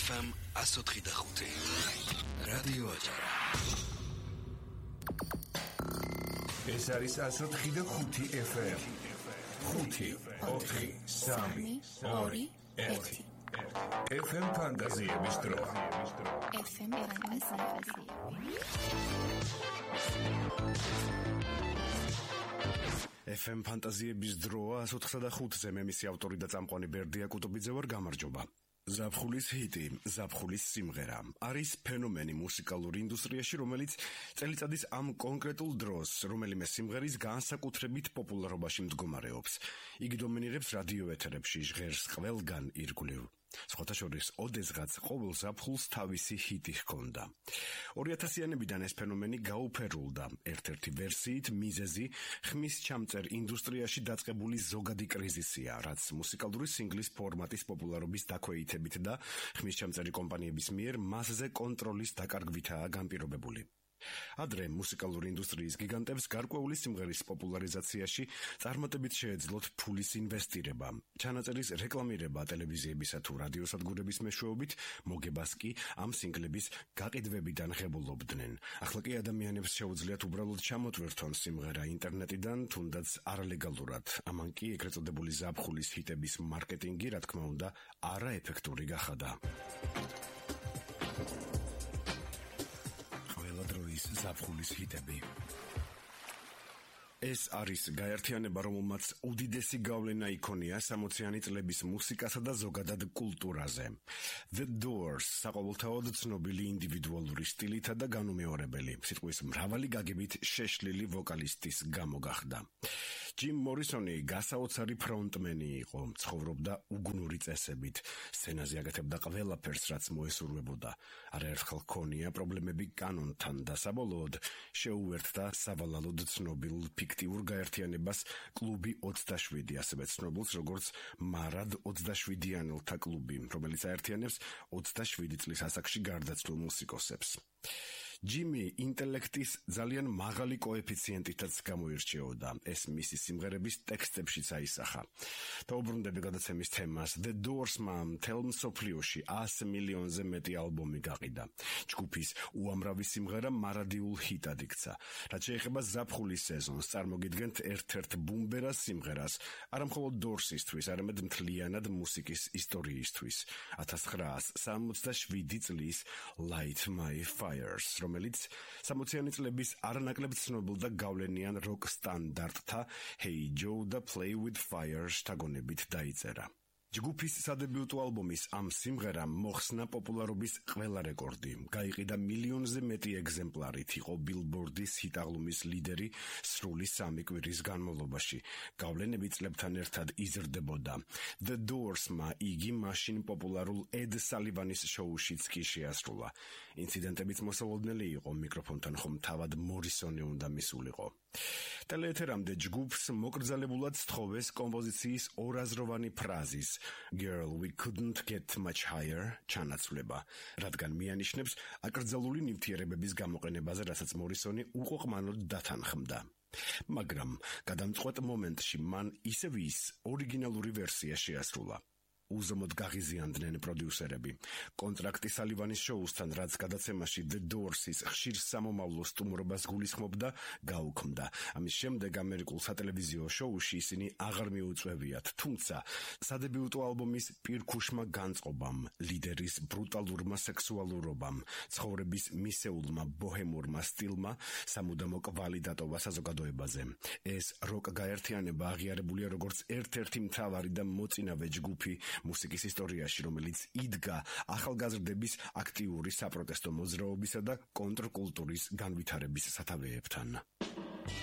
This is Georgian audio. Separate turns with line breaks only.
FM 104.5 რადიო აჭარა.
ეს არის 104.5 FM. 5-4-3-2-1 FM ფანტაზიების დრო.
FM ფანტაზიების.
FM ფანტაზიების დროა 104.5-ზე მე მისი ავტორი და წამყვანი ბერდია კუტუბიძე ვარ, გამარჯობა. ზაფხულის ჰიტი, ზაფხულის სიმღერა არის ფენომენი მუსიკალურ ინდუსტრიაში, რომელიც წელიწადის ამ კონკრეტულ დროს რომელიმე სიმღერის განსაკუთრებით პოპულარობაში მდგომარეობს. იგი დომინირებს რადიო ეთერებში, ჟღერს ყველგან ირგვლივ. სხვათა შორის, ოდესღაც ყოველ ზაფხულს თავისი ჰიტი ჰქონდა. 2000-იანებიდან ეს ფენომენი გაუფერულდა. ერთ-ერთი ვერსიით მიზეზი ხმის ჩამწერ ინდუსტრიაში დაწყებული ზოგადი კრიზისია, რაც მუსიკალური სინგლის ფორმატის პოპულარობის დაქვეითებით და ხმის ჩამწერი კომპანიების მიერ მასზე კონტროლის დაკარგვითაა განპირობებული. ადრე მუსიკალური ინდუსტრიის გიგანტებს გარკვეული სიმღერის პოპულარიზაციაში წარმატებით შეეძლოთ ფულის ინვესტირება, ჩანაწერის რეკლამირება ტელევიზიებისა თუ რადიოსადგურების მეშვეობით, მოგებას კი ამ სინგლების გაყიდვებიდან ღებულობდნენ. ახლა კი ადამიანებს შეუძლიათ უბრალოდ ჩამოტვირთონ სიმღერა ინტერნეტიდან, თუნდაც არალეგალურად. ამან კი ეგრეთ წოდებული ზაფხულის ჰიტების მარკეტინგი, რა თქმა უნდა, არაეფექტური გახადა. ზაფხულის ჰიტები. ეს არის გაერთიანება, რომელმაც უდიდესი გავლენა იქონია 60-იანი წლების მუსიკასა და ზოგადად კულტურაზე. The Doors საყოველთაოდ ცნობილი ინდივიდუალური სტილითა და განუმეორებელი, სიტყვის მრავალი გაგებით შეშლილი ვოკალისტის გამო გახდა. ჯიმ მორისონი გასაოცარი ფრონტმენი იყო, ცხოვრობდა უგუნური წესებით, სცენაზე აკეთებდა ყველაფერს, რაც მოესურვებოდა. არაერთხელ ჰქონია პრობლემები კანონთან და საბოლოოდ შეუერთდა სავალალოდ ცნობილ ფიქტიურ გაერთიანებას კლუბი 27, ასევე ცნობილს როგორც მარად 27-იანელთა კლუბი, რომელიც აერთიანებს 27 წლის ასაკში გარდაცვლილ მუსიკოსებს. ჯიმი ინტელექტის ძალიან მაღალი კოეფიციენტითაც გამოირჩეოდა. ეს მისი სიმღერების ტექსტებშიც აისახა. დაუბრუნდები გადაცემის თემას. The Doors-მა მთელ მსოფლიოში 100 მილიონზე მეტი ალბომი გაყიდა. ჯგუფის უამრავი სიმღერა მარადიულ ჰიტად იქცა. რაც შეეხება ზაფხულის სეზონს, წარმოგიდგენთ ერთ-ერთ ბუმბერას სიმღერას, არა მხოლოდ Doors-ისთვის, არამედ მთლიანად მუსიკის ისტორიისთვის. 1967 წლის Light My Fires, რომელიც 60-იანი წლების არანაკლებ ცნობილ და გავლენიან როკ სტანდარტთა Hey Joe და Play with Fire შთაგონებით დაიწერა. ჯგუფის სადებიუტო ალბომის ამ სიმღერამ მოხსნა პოპულარობის ყველა რეკორდი. გაიყიდა მილიონზე მეტი ეგზემპლარით, იყო ბილბორდის ჰიტაღლუმის ლიდერი სრული 3 კვირის განმავლობაში. გავლენები წლებთან ერთად იზრდებოდა. The Doors-მა იგი მაშინ პოპულარულ Ed Sullivan-ის შოუშიც კი შეასრულა. ინციდენტებიც მოსალოდნელი იყო, მიკროფონთან ხომ თავად მორისონი უნდა მისულიყო. ტელეეთერამდე ჯგუფს მოკრძალებულად სთხოვეს კომპოზიციის ორაზროვანი ფრაზის Girl, we couldn't get much higher ჩანაცვლება, რადგან მიანიშნებს აკრძალული ნივთიერებების გამოყენებაზე, რასაც მორისონი უყოყმანოდ დათანხმდა. მაგრამ გადამწყვეტ მომენტში მან ისევ ის ორიგინალური ვერსია შეასრულა. უზომოდ გაღიზიანდნენ პროდიუსერები. კონტრაქტი Sullivan-ის შოუსთან, რაც გადაცემაში The Doors-ის ხშირ სამომავლო სტუმრობას გულისხმობდა, გაუქმდა. ამის შემდეგ ამერიკულ სატელევიზიო შოუში ისინი აღარ მიუწვევიათ, თუმცა სადებიუტო ალბომის პირქუშმა განწყობამ, ლიდერის ბრუტალურმა სექსუალურობამ, ცხოვრების მისეულმა ბოჰემურმა სტილმა სამუდამო კვალი დატოვა საზოგადოებაზე. ეს როკ გაერთიანება აღიარებულია როგორც ერთ-ერთი მთავარი და მოწინავე ჯგუფი მუსიკის ისტორიაში, რომელიც იდგა ახალგაზრდების აქტიური საპროტესტო მოძრაობისა და კონტრკულტურის განვითარების სათავეებთან.